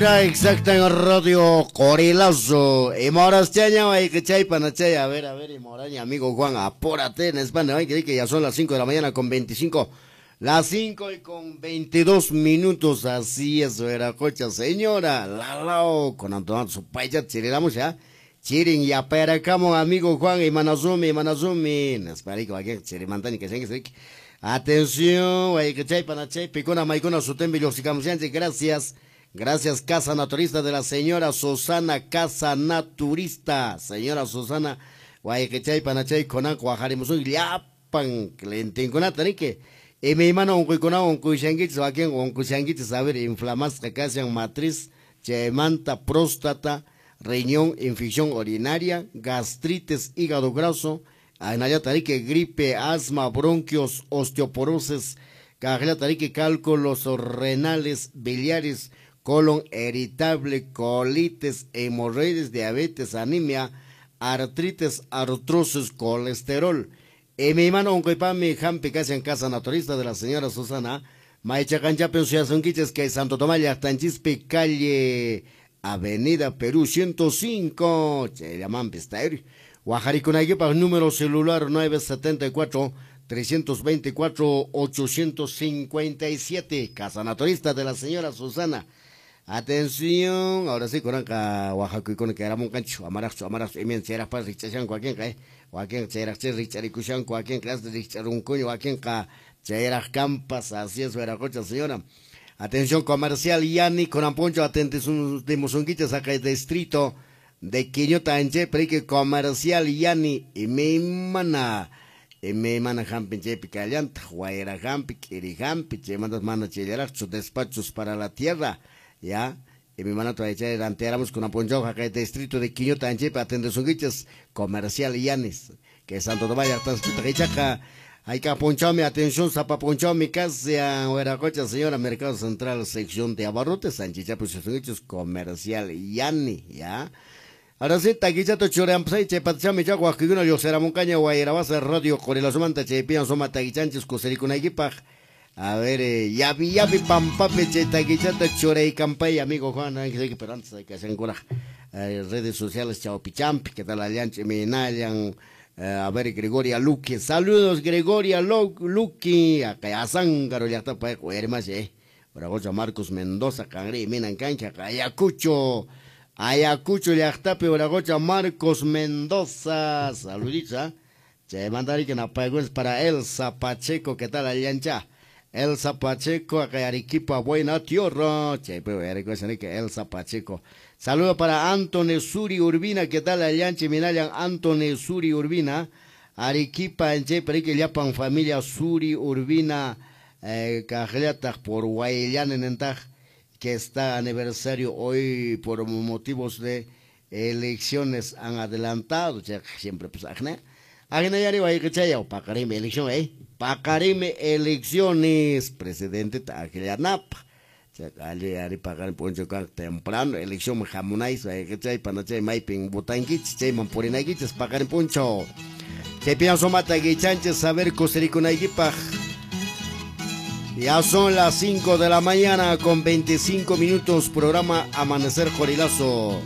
Exacta en Radio Corilazo. Y moras chaña, hay que chay panachay. A ver, y moraña, amigo Juan, apúrate en España. Hay que ya son las 5 de la mañana con 25. Las 5 y con 22 minutos. Así es, cocha, señora. Lalao, con Antonio Supaya, chiriramos ya. Chirin ya peracamo, amigo Juan, y Manazumi, y Manazumi. Nesparico, aquí, chirimantani, que se Atención, hay que chay panachay, picona, maicona, sutembi, gracias. Gracias, Casa Naturista de la señora Susana, Casa Naturista. Señora Susana, Guayquechay, Panachay, Conan, Guajarimusun, Llapan, clientinkunata, que y mi hermano, unquykunao, unqushankichis, wakin unqushankichis, a ver, inflamasqa kashan matriz, chaymanta, próstata, riñón, infección urinaria, gastritis, hígado graso, ahinallataq riki, gripe, asma, bronquios, osteoporosis, kaqllataq riki, cálculos renales, biliares, colon irritable, colitis, hemorroides, diabetes, anemia, artritis, artrosis, colesterol. Y mi hermano unquypami hampi kashan Casa Naturista de la señora Susana, Maychaqanchapi suyasunkichis kay Santo Tomás llaqtanchispi calle Avenida Perú 105, chayllamanpis tayri. Waqharikunaykipaq número celular 974 324 857, Casa Naturista de la señora Susana. Atención, ahora sí, kunanqa waqhakuykuna kayramunqanchik, amaraqchu, amaraqchu, imayna chayraqpas rikch'ashanku wakinqa, wakinqa chayraqchá rikch'arikushanku, wakinqa rikch'arunkuña, wakinqa chayraq kampas, así es, Veracocha, señora. Atención comercial, Yani, kunan p'unchaw atendimusunkichis haqay distrito de Quiñota Anche, pero comercial Yani, imaymana, imaymana hampin chaypi kallantaq, wayra hampi, k'iri hampi, chaymantas mana chayllaraqchu, despachos para la tierra. Ya, y mi mano chay rantearamos con aponchao haqay distrito de Quiñota Anchepi atendesunkichis comercial Yanis, que Santo Tomás llaqtaspitaq ichaqa hayka punchawmi atención sapa punchawmi kashan Huiracocha señora Mercado Central sección de abarrotes Anchichapi suyasunkichis comercial Yani, ya. Ahora sí, takichata churampasay chaypatachami chaqa waqkikuna lluqsiramunqaña Wayrawasa Radio Qorilazumanta chaypiwan suma takichanchis kusirikunaykipaq. A ver, yavi yavi pampape chay takichata churaykampay, amigo Juan, pero antes hay que hacer redes sociales chawpichampi, que tal allanchi minayan, a ver, Gregoria Luque, saludos Gregoria Luque, acá Azángaro llaqtapa hermasi, Bragocha Marcos Mendoza, qanri minan kancha, Ayacucho, Ayacucho llaqtapi Bragocha Marcos Mendoza, saluditos, chaymantari napaykunas para Elsa Pacheco, ¿qué tal allancha? Elsa Pacheco, acá Arequipa, buena tierra. Elsa Pacheco. Saludo para Anthony Suri Urbina, ¿qué tal allanchi minayan Anthony Suri Urbina? Arequipa, en llapan familia Suri Urbina, kaqllataq por Guayllanenentaj, que está aniversario hoy por motivos de elecciones han adelantado, siempre pues ajna. Ajna yari wayqichaya, paqarimi elección, paqarimi elecciones, presidente taqllanapaq. Chaqalli ari paqarin p'unchaw kanqa temprano, elección hamunaysi wayqichay panachay maypin votankichis, chayman purinaykichis paqarin p'unchaw. Chaypiña sumata kichanchis saber kusirikunaykipaq. Ya son las 5 de la mañana con 25 minutos, programa Amanecer Qorilazo.